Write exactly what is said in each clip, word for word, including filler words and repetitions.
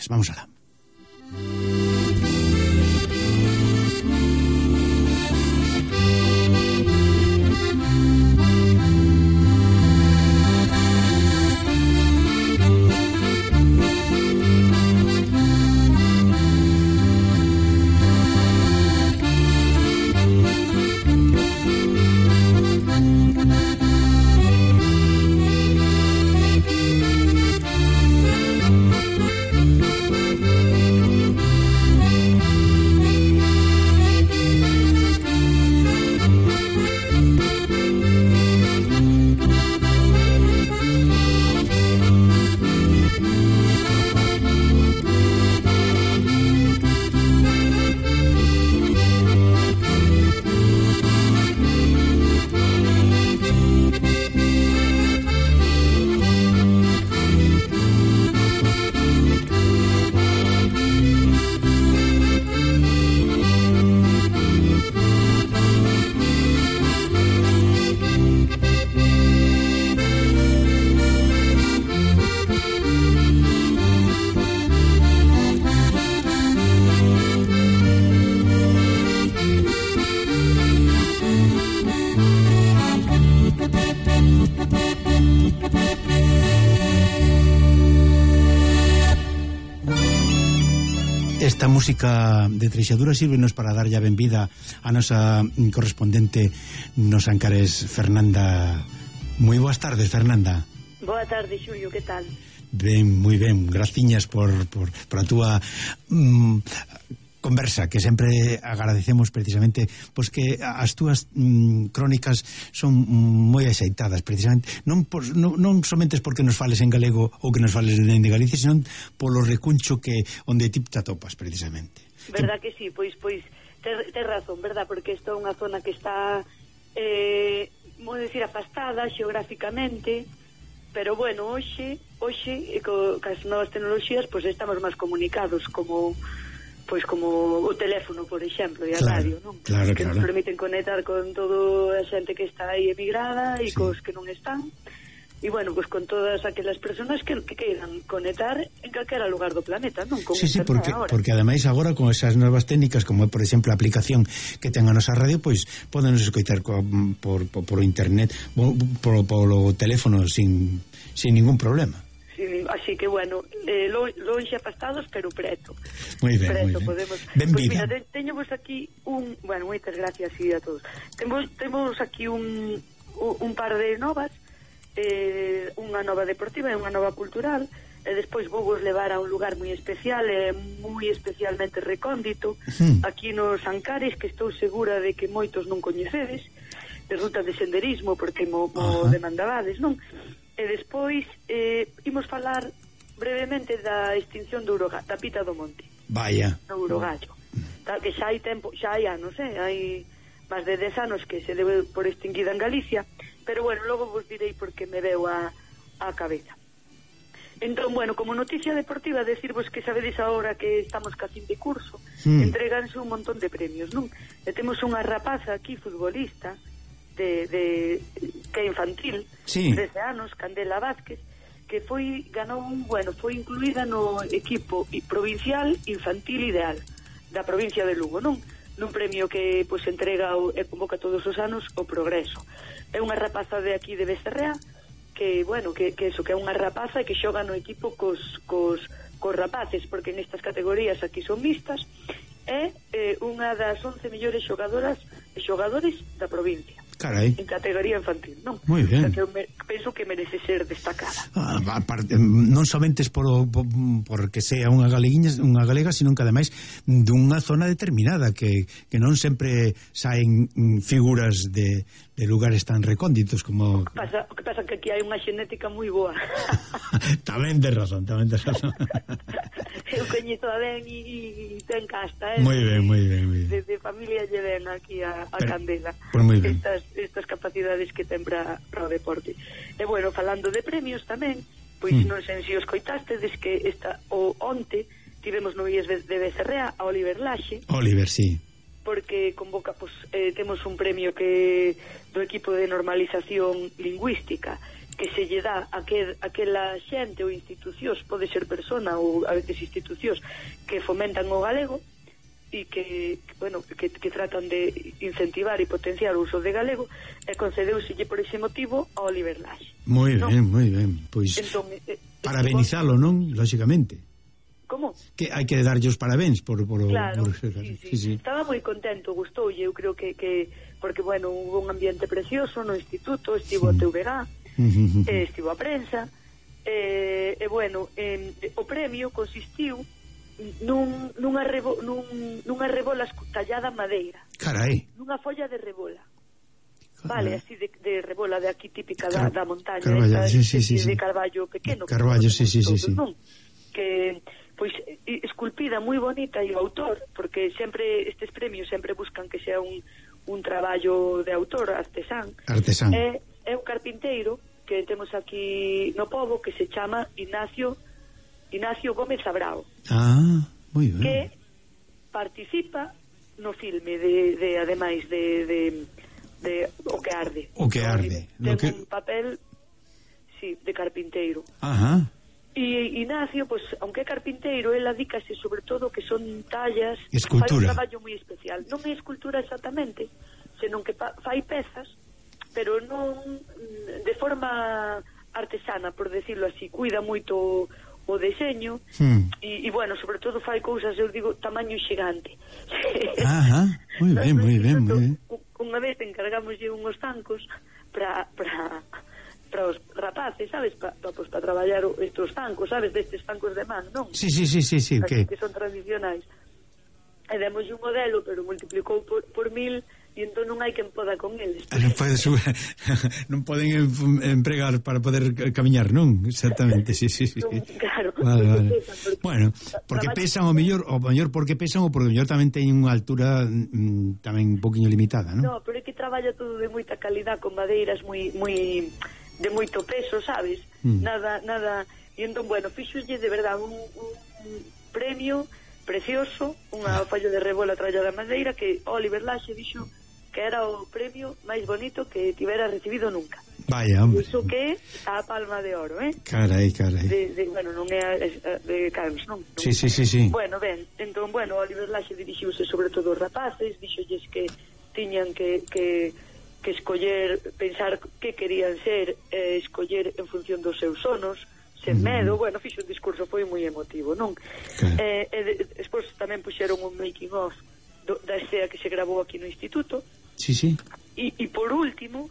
canciones. Vamos alá. Esta música de Treixadura sírvenos para darlle a benvida a nosa correspondente nos Ancares, Fernanda. Moi boas tardes, Fernanda. Boa tarde, Xulio, que tal? Ben, moi ben, graciñas por, por, por a túa mm, conversa, que sempre agradecemos precisamente, pois que as túas mm, crónicas son moi axeitadas, precisamente, non, por, non, non somente porque nos fales en galego ou que nos fales de Galicia, senón polo recuncho que onde ti te atopas, precisamente. Verdad que sí, pois pois tes te razón, verdad, porque esta é unha zona que está eh, vou dicir, afastada xeográficamente, pero bueno, hoxe, hoxe, co, cas novas tecnoloxías, pois estamos máis comunicados, como pois como o teléfono, por exemplo, e a claro, radio, non? Claro, que claro. nos permiten conectar con toda a xente que está aí emigrada e sí. Cos que non están. E bueno, pois con todas aquelas persoas que, que queiran conectar en calquera lugar do planeta, non? Con sí, sí, porque, ahora. porque ademais agora con esas novas técnicas, como por exemplo a aplicación que ten a nosa radio, pois podenos escoitar co, por, por, por internet, por, por o teléfono sin, sin ningún problema. Sí, así que bueno, eh, lo, longe afastados pero preto. Moi ben, preto, moi ben. Podemos... Benvida. Pues mira, te, teñemos aquí un, bueno, moitas gracias sí, a todos. Temos temos aquí un un par de novas, eh, unha nova deportiva e unha nova cultural, e despois vou vos levar a un lugar moi especial e moi especialmente recóndito, uh-huh. aquí nos Ancares, que estou segura de que moitos non coñecedes, de ruta de senderismo, porque mo, mo uh-huh. demandabades, non? E despois eh, imos falar brevemente da extinción do Uroga, da Pita do Monte. Vaya. Do Urogallo. Tal que xa hai tempo, xa hai anos, eh, hai máis de dez anos que se debe por extinguida en Galicia, pero bueno, logo vos direi porque me veo a, a cabeza. Entón, bueno, como noticia deportiva, decirvos que sabedes agora que estamos ca fin de curso, mm. entréganse un montón de premios, non? E temos unha rapaza aquí, futbolista, de, de que é infantil, sí. trece anos, Candela Vázquez, que foi ganou un, bueno, foi incluída no equipo provincial infantil ideal da provincia de Lugo, non? Nun premio que pois entrega o, e convoca todos os anos o Progreso. É unha rapaza de aquí de Becerrea que, bueno, que, que eso, que é unha rapaza e que xoga no equipo cos, cos, cos rapaces, porque nestas categorías aquí son mixtas, é eh, unha das once mellores xogadoras e xogadores da provincia. Carai. En categoría infantil, non? Moi ben. O sea, que eu me, penso que merece ser destacada. Ah, aparte, non somente por, por porque sea unha galeguiña, unha galega, sino que ademais dunha zona determinada que, que non sempre saen figuras de, de lugares tan recónditos como... O que pasa, o que pasa que aquí hai unha xenética moi boa. Tamén de razón, tamén de razón. Eu coñezo a ben e ten casta, eh? Moi ben, moi ben, moi ben. De, de familia lle ven aquí a, a Pero, Candela. Pues moi ben. Estas, estas capacidades que ten para, para o deporte. E bueno, falando de premios tamén, pois mm. non sei se os coitastedes que esta, o onte tivemos no Ies de Becerrea a Oliver Laxe. Oliver, sí. Porque convoca, pues, eh, temos un premio que do equipo de normalización lingüística que se lle dá a que, aquela xente ou institucións, pode ser persona ou a veces institucións que fomentan o galego e que, que, bueno, que, que tratan de incentivar e potenciar o uso de galego, e concedeuselle por ese motivo a Oliver Laxe. Moi ¿no? ben, moi ben. Pois entón, eh, parabenizalo, non? Lóxicamente. Como? Que hai que darlle os parabéns por... por claro, por... Sí, sí. Sí, sí. Estaba moi contento, gustoulle, eu creo que, que porque, bueno, hubo un ambiente precioso no instituto, estivo sí. a T V G, uh-huh. eh, estivo a prensa, e, eh, eh, bueno, eh, o premio consistiu nun, nunha, rebo, nun, nunha rebola tallada en madeira. Carai. Nunha folla de rebola. Vale, así de, de rebola de aquí típica Car da, da montaña, Carballo, esta, sí, sí, sí, de sí. carballo pequeno. Carballo, sí, sí, sí, sí. Non? Que, pois, esculpida moi bonita, e o autor, porque sempre estes premios sempre buscan que sea un, un traballo de autor, artesán. Artesán. É, é un carpinteiro que temos aquí no pobo que se chama Ignacio Ignacio Gómez Abrao. Ah, moi ben. Que participa no filme de, de ademais de, de, de O que arde. O que arde. Ten que... un papel, sí, de carpinteiro. Ajá. E Ignacio, pues, aunque é carpinteiro, él adícase sobre todo que son tallas, escultura. Fai un traballo moi especial. Non é escultura exactamente, senón que fai pezas, pero non de forma artesana, por decirlo así. Cuida moito o deseño hmm. e, e bueno, sobre todo fai cousas, eu digo, tamaño xigante. Ajá, moi ben, moi ben, moi ben. Unha vez encargámoslle unhos zancos para para para os rapaces, sabes, para pa, pues, pa traballar estes zancos, sabes, destes zancos de man, non? Sí, sí, sí, sí, sí, que, que... que son tradicionais. E demos un modelo, pero multiplicou por, por mil, e entón non hai quen poda con eles. Non, pode non poden empregar para poder camiñar, non? Exactamente, sí, sí, sí. Claro. Vale, vale. Porque bueno, porque pesan o mellor, o mellor porque pesan ou porque o mellor tamén teñen unha altura mm, tamén un poquinho limitada, non? No, pero é que traballa todo de moita calidad, con madeiras moi moi de moito peso, sabes? Mm. Nada, nada. E entón, bueno, fixolle de verdade un, un premio precioso, unha ah. falla de rebola trallada de madeira que Oliver Laxe dixo que era o premio máis bonito que tivera recibido nunca. Vaya, hombre. Iso que a palma de oro, eh? Carai, carai. De, de, bueno, non é a, a, de Carlos, non? non? Sí, sí, sí, sí. Bueno, ben, entón, bueno, Oliver Laxe dirixiuse sobre todo aos rapaces, dixolles que tiñan que, que, que escoller, pensar que querían ser, eh, escoller en función dos seus sonos, sen mm. medo. Bueno, fixo un discurso, foi moi emotivo, non? Okay. Eh, e de, despois tamén puxeron un making of do, da escena que se grabou aquí no instituto. Sí, sí. E, e por último,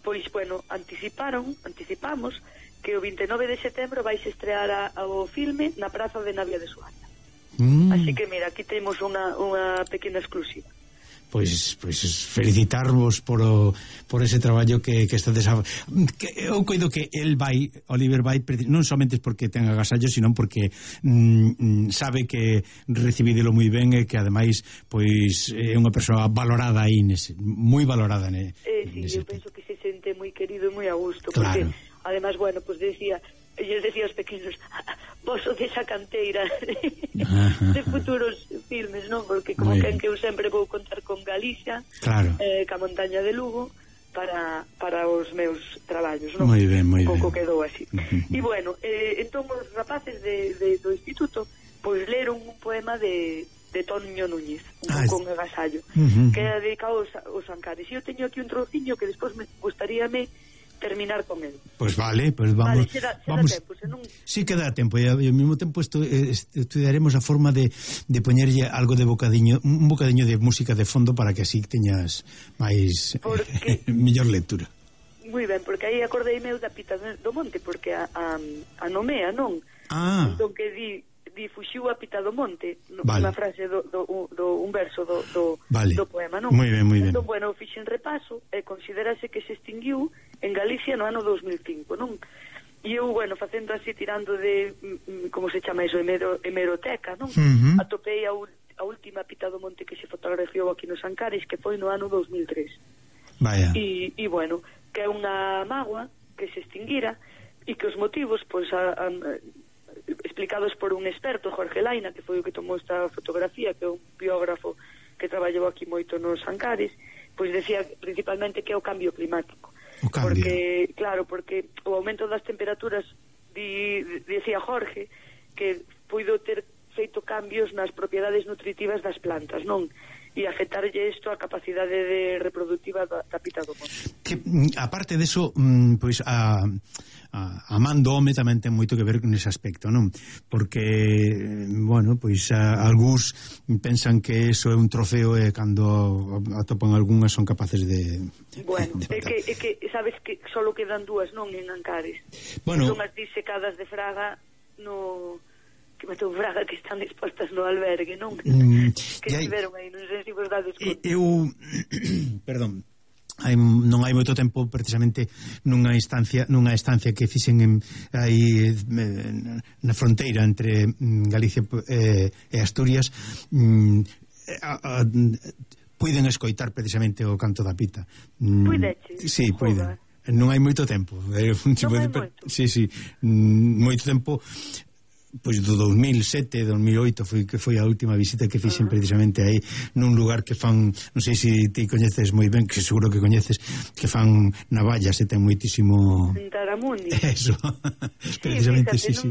pois, bueno, anticiparon, anticipamos que o vinte e nove de setembro vais estrear a, ao filme na Praza de Navia de Suaza. Mm. Así que, mira, aquí temos unha, unha pequena exclusiva. Pois, pois felicitarvos por o, por ese traballo que, que estades a, que eu coido que el vai, Oliver vai, non somente porque ten agasallo, sino porque mm, sabe que recibídelo moi ben e que ademais pois é unha persoa valorada aí nese, moi valorada ne, eh, sí, eu penso que se sente moi querido e moi a gusto, claro. Porque además, bueno, pues decía, ellos decía aos pequenos, vos o desa canteira de futuros filmes, non? Porque como que, que eu sempre vou contar con Galicia, claro. eh, ca montaña de Lugo para, para os meus traballos, non? Moi ben, moi ben. Pouco quedou así. E bueno, eh, entón os rapaces de, de, do instituto pois leron un poema de de Toño Núñez, un ah, pouco con agasallo, uh -huh. que é dedicado aos, aos Ancares. E eu teño aquí un trociño que despois me gustaríame terminar con él. Pois pues vale, pues vamos, vale, será, será vamos. Tempo, senón... Sí que dá tempo, e ao mesmo tempo estu, estudiaremos a forma de, de poñerlle algo de bocadiño, un bocadiño de música de fondo para que así teñas máis porque... mellor lectura. Moi ben, porque aí acordei meu da Pita do Monte, porque a, a, a nomea, non? Ah. Entón que di di fuxiu a Pita do Monte, vale. Unha frase do, do, do un verso do, do, vale. do poema, non? Moi ben, moi ben. Entón, bueno, fixen repaso e considerase que se extinguiu en Galicia no ano dos mil cinco, non? E eu, bueno, facendo así, tirando de, como se chama iso, hemero, hemeroteca, non? Uh -huh. Atopei a, a última Pita do Monte que se fotografiou aquí nos Ancares, que foi no ano dos mil tres. Vaya. E, e bueno, que é unha mágoa que se extinguira e que os motivos, pois, a, a, explicados por un experto, Jorge Laina, que foi o que tomou esta fotografía, que é un biógrafo que traballou aquí moito nos Ancares, pois decía principalmente que é o cambio climático. O cambio. Porque, claro, porque o aumento das temperaturas, di, dicía Jorge, que puido ter feito cambios nas propiedades nutritivas das plantas, non? E afectarlle isto a capacidade de reproductiva da, da pita do monte. Que, aparte deso, pois a, a, a man do home tamén ten moito que ver con ese aspecto, non? Porque, bueno, pois a, algúns pensan que eso é un trofeo e cando atopan algunhas son capaces de... Bueno, de é que, é que sabes que solo quedan dúas, non, en Ancares. Bueno, son as disecadas de Fraga no... que meto Fraga que están expostas no albergue, non? Mm, que estiveron aí, non sei se vos dades conta. Eu, perdón, hai, non hai moito tempo precisamente nunha instancia nunha estancia que fixen en, aí na fronteira entre Galicia e, e Asturias, mm, a, a, puiden escoitar precisamente o canto da pita. Mm, Puideche? Sí, puiden. Non hai moito tempo. Non hai moito? Sí, sí, moito tempo. Pois do dos mil sete, dos mil oito foi que foi a última visita que fixen precisamente aí nun lugar que fan, non sei se ti coñeces moi ben, que seguro que coñeces, que fan navallas e ten moitísimo Taramundi. Eso. Precisamente, sí, sí.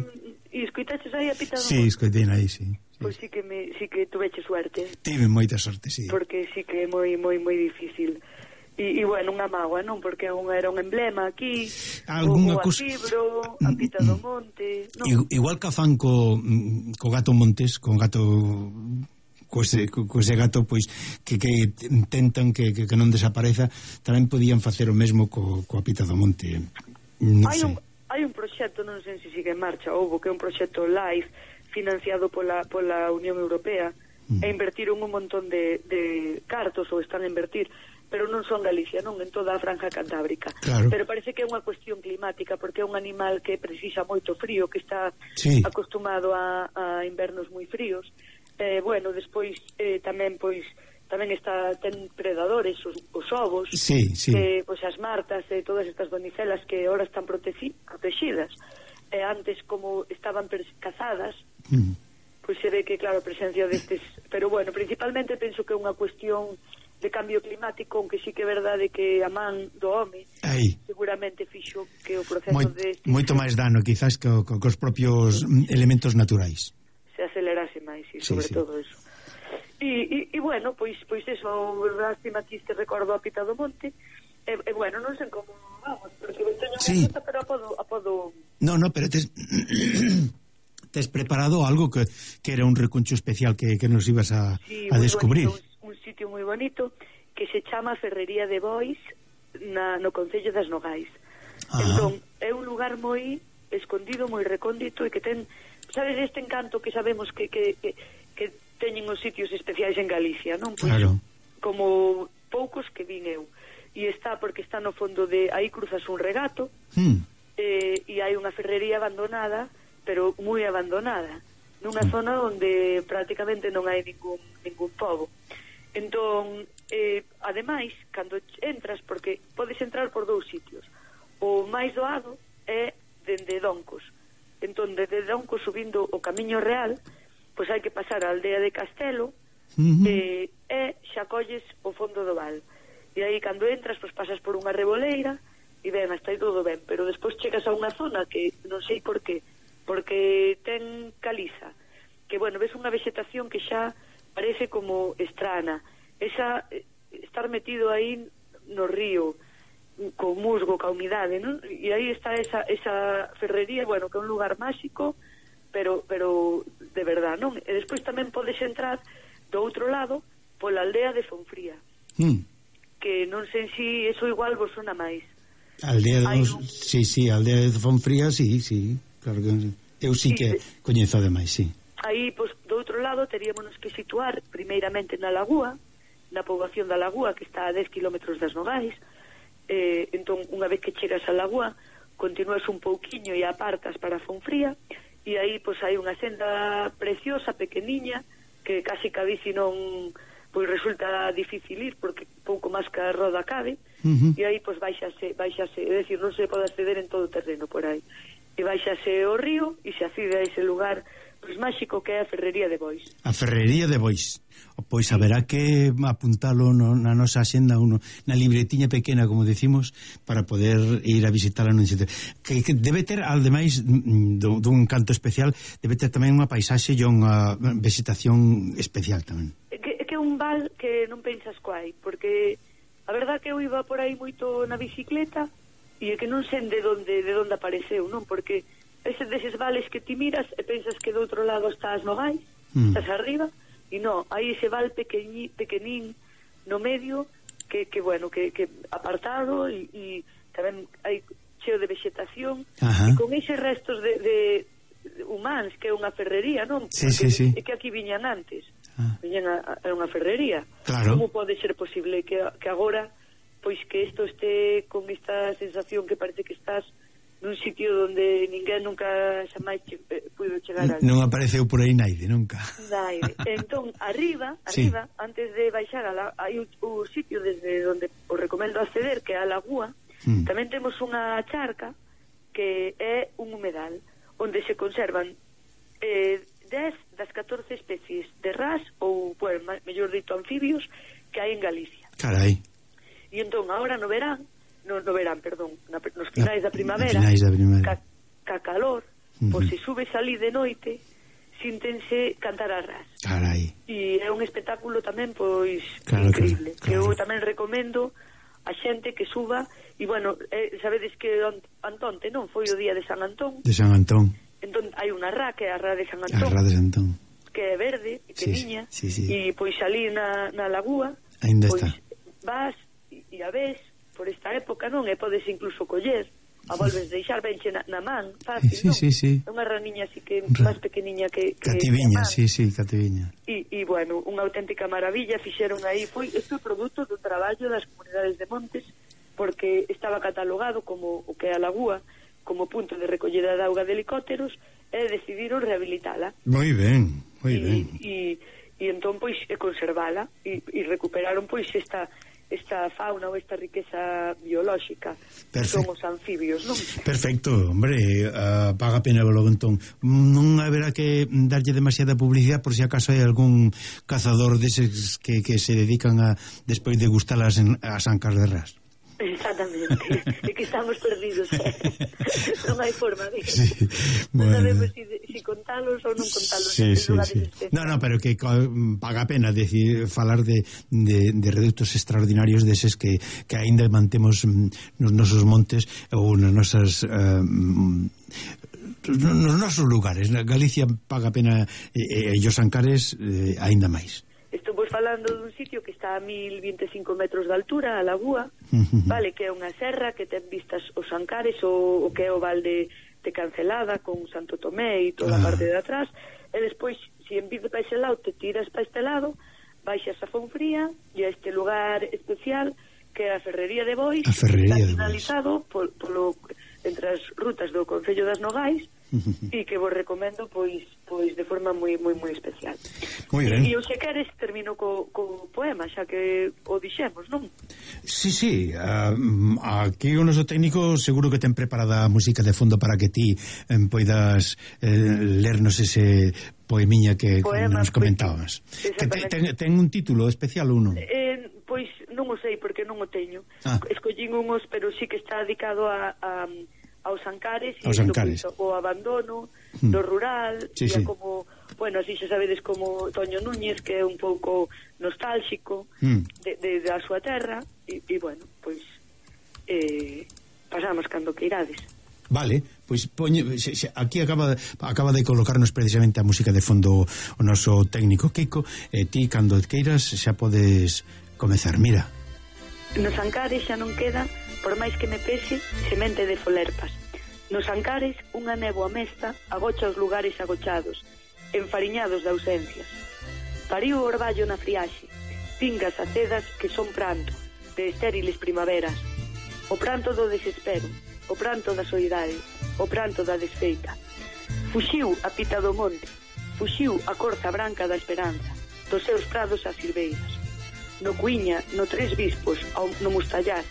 E escoitaches aí a pita do monte? Sí, escoitei aí, sí. Pois sí que me sí que tuveche suerte. Tive moita sorte, sí. Porque sí que é moi moi moi difícil. E, e bueno, unha mágoa, non? Porque un, era un emblema aquí, o, o a fibro, a pita do monte, non? Igual que fan co, co gato Montes, con gato co ese, co ese gato pois que, que intentan que, que, que non desapareza, tamén podían facer o mesmo co, coa pita do monte, non hai sei. Un, hai un proxecto, non sei se sigue en marcha, houve que é un proxecto LIFE financiado pola, pola Unión Europea, mm. e invertiron un montón de, de cartos, ou están a invertir, pero non son Galicia, non, en toda a franja cantábrica. Claro. Pero parece que é unha cuestión climática, porque é un animal que precisa moito frío, que está sí. acostumado a, a invernos moi fríos. Eh, bueno, despois eh, tamén pois tamén está ten predadores, os, os ovos, sí, sí. Eh, pois as martas e eh, todas estas donicelas que ahora están protegi, protegidas. Eh, antes, como estaban cazadas, mm. pois se ve que, claro, a presencia destes... Pero, bueno, principalmente penso que é unha cuestión de cambio climático, aunque sí que é verdade que a man do home Aí. seguramente fixo que o proceso Moi, de... Moito máis dano, quizás, que, que, que os propios elementos naturais. Se acelerase máis, e sobre sí, sí. todo eso. E, e, e bueno, pois pois eso, lástima que este recordo a pita do monte, e, e bueno, non sei como vamos, porque teño sí. unha pero a podo, a podo... No, no, pero tes... tes preparado algo que, que era un recuncho especial que, que nos ibas a, sí, a descubrir. Bonito, un, un sitio moi bonito que se chama Ferrería de Bois na, no Concello das Nogais. Ah. Entón, é un lugar moi escondido, moi recóndito, e que ten, sabes, este encanto que sabemos que, que, que, que teñen os sitios especiais en Galicia, non? Pois, claro. Como poucos que vin eu. E está porque está no fondo de... Aí cruzas un regato, hmm. eh, e hai unha ferrería abandonada, pero moi abandonada, nunha hmm. zona onde prácticamente non hai ningún, ningún pobo. Entón, eh, ademais, cando entras, porque podes entrar por dous sitios, o máis doado é dende Doncos. Entón, desde Doncos subindo o Camiño Real, pois hai que pasar a aldea de Castelo, uh-huh. eh, e xa colles o fondo do val. E aí, cando entras, pois pasas por unha reboleira, e ben, hasta aí todo ben, pero despois chegas a unha zona que non sei por qué, porque ten caliza, que, bueno, ves unha vegetación que xa parece como estrana, esa estar metido aí no río co musgo, ca humidade, non? E aí está esa, esa ferrería, bueno, que é un lugar máxico, pero pero de verdad, non? E despois tamén podes entrar do outro lado pola aldea de Fonfría, mm. que non sei se eso igual vos sona máis. Aldea de un... sí, sí, aldea de Fonfría, sí, sí, claro que eu sí, sí que sí. Coñezo ademais, sí. Aí, pois, do outro lado, teríamos que situar primeiramente na Lagúa, na poboación da Lagúa, que está a dez kilómetros das Nogais. Eh, entón, unha vez que chegas a Lagúa, continúas un pouquiño e apartas para Fonfría, e aí, pois, hai unha senda preciosa, pequeniña, que casi que a bici non, pois, resulta difícil ir, porque pouco máis que a roda cabe, uh-huh. e aí, pois, baixase, baixase, é dicir, non se pode acceder en todo o terreno por aí. E baixase o río, e se accede a ese lugar pois máxico que é a Ferrería de Bois. A Ferrería de Bois. Pois haberá que apuntalo no, na nosa axenda, uno, na libretiña pequena, como decimos, para poder ir a visitarla nun sitio. Que, que debe ter, ademais dun, dun canto especial, debe ter tamén unha paisaxe e unha vegetación especial tamén. Que, que é un val que non pensas coai, porque a verdad que eu iba por aí moito na bicicleta e é que non sei de onde, de onde apareceu, non? Porque ese deses vales que ti miras e pensas que do outro lado estás no Gais, mm. estás arriba, e non, hai ese val pequeñi, pequenín no medio que, que bueno, que, que apartado e, e tamén hai cheo de vegetación. Ajá. E con eses restos de, de humanos que é unha ferrería, non? Sí, sí, sí. É que aquí viñan antes, ah. viñan a, a unha ferrería. Claro. Como pode ser posible que, que agora pois que isto este con esta sensación que parece que estás nun sitio onde ninguén nunca xa máis che, eh, puido chegar ali. Non apareceu por aí naide, nunca. Naide. Entón, arriba, arriba, sí. Antes de baixar a la, hai un, un sitio desde onde os recomendo acceder, que é a Lagúa, mm. tamén temos unha charca que é un humedal onde se conservan eh, dez das catorce especies de ras ou, bueno, mellor dito, anfibios que hai en Galicia. Carai. E entón, agora no verán, no, no verán, perdón, na, nos finais da primavera, finais da primavera. Ca, ca calor, uh -huh. pois se subes ali de noite, síntense cantar a ras. Carai. E é un espectáculo tamén, pois, claro, increíble, claro, que claro. eu tamén recomendo a xente que suba, e, bueno, eh, sabedes que Antonte, non? Foi o día de San Antón. De San Antón. Entón, hai unha ra, que é a ra de San Antón. A ra de San Antón. Que é verde, pequeniña, sí, sí, sí. E, pois, ali na, na lagúa, ainda pois, está. vas e a ves por esta época, non? E podes incluso coller, a volves deixar benche na, na man, fácil, sí, non? Sí, sí. É unha raniña así que Ra... máis pequeniña que... que cativiña, sí, sí, cativiña. E, e, bueno, unha auténtica maravilla fixeron aí, foi este produto do traballo das comunidades de Montes, porque estaba catalogado como o que é a lagúa, como punto de recollida de auga de helicópteros, e decidiron rehabilitala. Moi ben, moi ben. E, e entón, pois, e conservala, e, e recuperaron, pois, esta... esta fauna ou esta riqueza biolóxica que son os anfibios, non? Perfecto, hombre, uh, paga pena logo entón. Non haberá que darlle demasiada publicidade por se si acaso hai algún cazador deses que, que se dedican a despois de gustalas en, as ancas de ras. Exactamente, é que estamos perdidos, eh? Non hai forma de sí, non bueno. sabemos si, si contalos ou non contalos sí, en sí, lugares sí. especiales. No, no, pero que paga pena decir, falar de, de, de reductos extraordinarios deses que, que ainda mantemos nos nosos montes ou nas nosas uh, nos nosos lugares. Galicia paga pena e, e os Ancares eh, ainda máis. Estou vos falando dun sitio que está a mil vinte e cinco metros de altura, a Lagúa, uh-huh. vale, que é unha serra que ten vistas os Ancares, o, o que é o val de, de Cancelada, con Santo Tomé e toda ah. a parte de atrás, e despois, se en vez de para ese lado te tiras para este lado, baixas a Fonfría e a este lugar especial que é a Ferrería de Bois, a Ferrería está de finalizado Bois. Polo, entre as rutas do Concello das Nogais, e que vos recomendo pois pois de forma moi moi moi especial. Moi ben. E eu se queres termino co, co poema, xa que o dixemos, non? Sí, sí, uh, aquí o noso técnico seguro que ten preparada a música de fondo para que ti eh, poidas eh, lernos ese poemiña que Poema, nos comentabas. Pois, que te, ten, ten un título especial ou non? Eh, pois non o sei porque non o teño. Ah. Escollín unhos, pero sí que está dedicado a, a aos Ancares e Ancares. o abandono mm. do rural sí, e sí. como, bueno, así xa sabedes como Toño Núñez, que é un pouco nostálxico mm. de, de, da súa terra e, e bueno, pois eh, pasamos cando que irades. Vale, pois poñe, xe, xe, aquí acaba, acaba de colocarnos precisamente a música de fondo o noso técnico Kiko, e ti cando queiras xa podes comezar, mira. Nos Ancares xa non queda, por máis que me pese, semente de folerpas. Nos Ancares, unha néboa mesta agocha os lugares agochados, enfariñados de ausencias. Pariu o orballo na friaxe, pingas acedas que son pranto, de estériles primaveras. O pranto do desespero, o pranto da soidade, o pranto da desfeita. Fuxiu a pita do monte, fuxiu a corza branca da esperanza, dos seus prados as silveiras. No Cuiña, no Tres Bispos, ao, no Mustallar,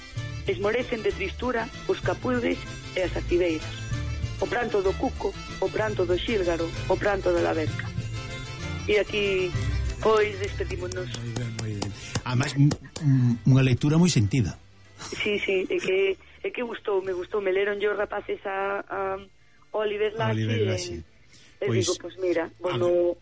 esmorecen de tristura os capudes e as activeiras. o pranto do cuco, o pranto do xílgaro, o pranto da laverca. E aquí, pois, despedímonos. Moi ben, moi ben. Además, unha lectura moi sentida. Sí, sí, é que, é que gustou, me gustou, me leron yo rapaces a, a Oliver Laxe, e pois, digo, pois mira, bueno...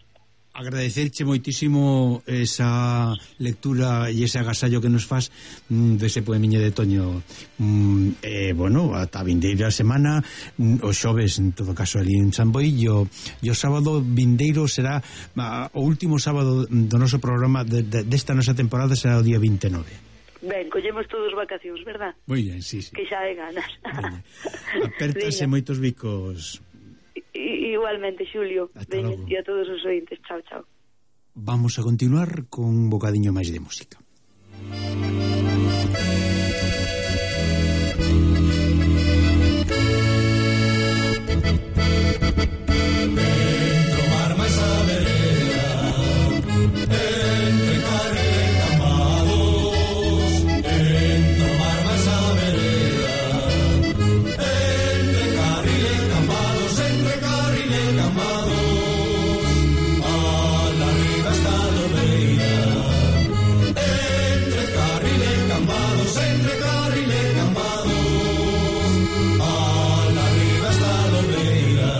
Agradecerche moitísimo esa lectura e ese agasallo que nos faz mm, dese poemiño de Toño, mm, e, bueno, ata a vindeira semana, mm, os xoves, en todo caso, ali en San Boi, e o, e o sábado vindeiro será a, o último sábado do noso programa de, de, desta nosa temporada, será o día vinte e nove. Ben, collemos todos vacacións, verdad? Moi ben, sí, sí. Que xa hai ganas. Apertase moitos bicos. I, igualmente, Xulio. Veña, e a todos os ointes. Chao, chao. Vamos a continuar con un bocadiño máis de música. Dentro mar máis a vereda, entre carne e camados, dentro mar máis a vereda, entre carril e camados, entre carril e camados, a la riba está a lobeira, entre carril e camados, entre carril e camados, a la riba está a lobeira,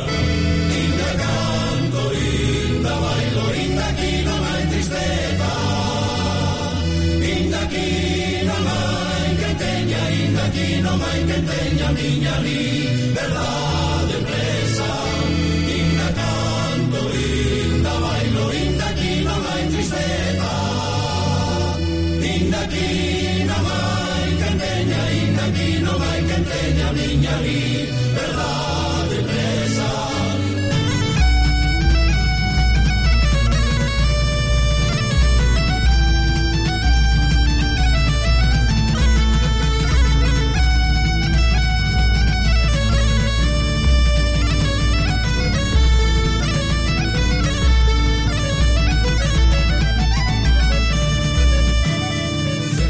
inda canto, inda bailo, inda aquí non hai tristeza, inda aquí non hai que teña, inda aquí non hai que teña miña liberdade presa, inda canto, inda bailo, inda aquí non hai tristeza, inda aquí non hai que teña, inda aquí non hai que teña miña liberdade.